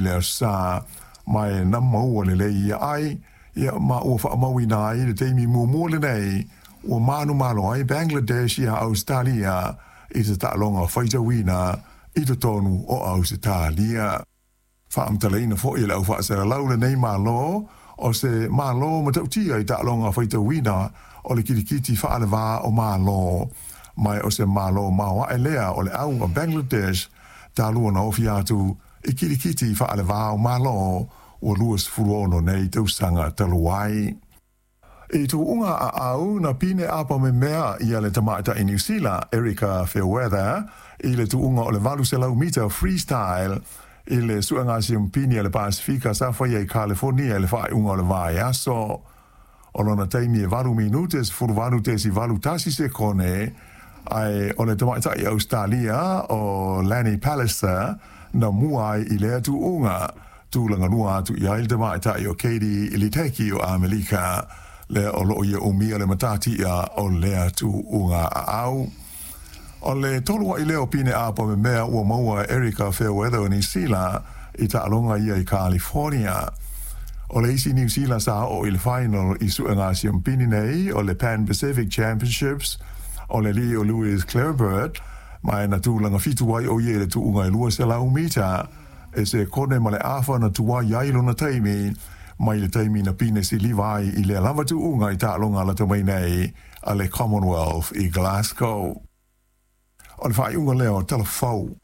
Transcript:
le Aso Sa, ma e na maua lelei ia ai, ia ma ua faamauina ai le taimi muamua lenei ua manumalo ai Bangladesh iā Ausetalia i se taaloga faitauina i totonu o Ausetalia. Faamatalaina foi e le au faasalalau lenei Malo o se Malo matautia i taaloga faitauina o le kilikiti faalevā o Malo, ma o se Malo maoae lea o le au a Bangladesh talu ona ofi atu i kilikiti faalevā o Malo ua 26 nei tausaga talu ai. I tuuga aau na pine apa memea ia le tamaitai Niu Sila Erika Fairweather i le tuuga o le 800 mita freestyle i le suega siumpini a le Pasefika sa faia i Kalifornia i le faaiuga o le vaiaso. O lona taimi e 8 minute 18.81 sekone, ae o le tamaitai Ausetalia o Lani Pallister na mua ai i lea tuuga. Tulaga lua atu i ai le tamaitai o Katie Ledecky o Amelika, lea o loo ia umia le matatia o lea tuuga aau. O le tolu ai lea o pine apa memea ua maua e Erika Fairweather o Niu Sila i taaloga ia i California. O le isi Niu Sila sa oo i le final i suega siumpini nei o le Pan Pacific Championships o le alii o Louis Clareburt, ma e na tulaga fitu ai o ia i le tuuga e 200 mita e sekone ma le afa na tuai ai lona taimi mai le taimi na pine siliva ai i lea lava tuuga i taaloga lata mai nei a le Commonwealth i Glasgow. O le faaiuga lea o Tala Fou.